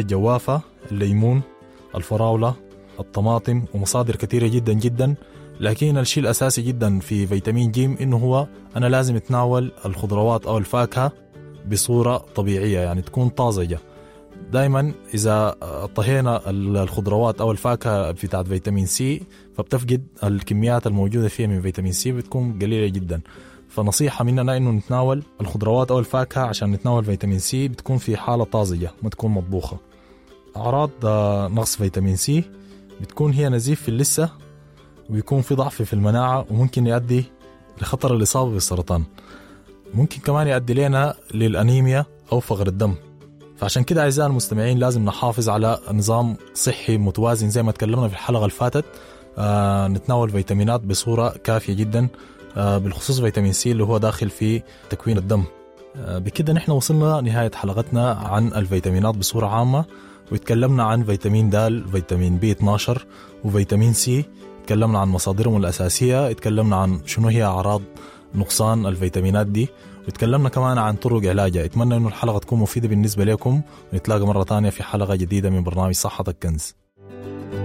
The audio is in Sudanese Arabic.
الجوافة، الليمون، الفراولة، الطماطم، ومصادر كثيرة جدا جدا. لكن الشيء الأساسي جدا في فيتامين ج إنه هو أنا لازم أتناول الخضروات أو الفاكهة بصورة طبيعية، يعني تكون طازجة. دائما إذا طهينا الخضروات أو الفاكهة بتاعت فيتامين سي فبتفقد الكميات الموجودة فيها من فيتامين سي، بتكون قليلة جدا. فنصيحة مننا إنه نتناول الخضروات أو الفاكهة عشان نتناول فيتامين سي بتكون في حالة طازجة، ما تكون مطبوخة. أعراض نقص فيتامين سي بتكون هي نزيف في اللثة، ويكون في ضعف في المناعة، وممكن يؤدي لخطر الإصابة بالسرطان. ممكن كمان يؤدي لنا للأنيميا أو فقر الدم. فعشان كده أعزائي المستمعين لازم نحافظ على نظام صحي متوازن زي ما تكلمنا في الحلقة اللي فاتت. نتناول فيتامينات بصورة كافية جدا، بالخصوص فيتامين سي اللي هو داخل في تكوين الدم. بكده نحن وصلنا نهاية حلقتنا عن الفيتامينات بصورة عامة، وتكلمنا عن فيتامين د، فيتامين بي 12، وفيتامين سي. تكلمنا عن مصادرهم الأساسية، تكلمنا عن شنو هي أعراض نقصان الفيتامينات دي، وتكلمنا كمان عن طرق علاجها. أتمنى إنه الحلقة تكون مفيدة بالنسبة لكم، ونتلاقى مرة تانية في حلقة جديدة من برنامج صحتك كنز.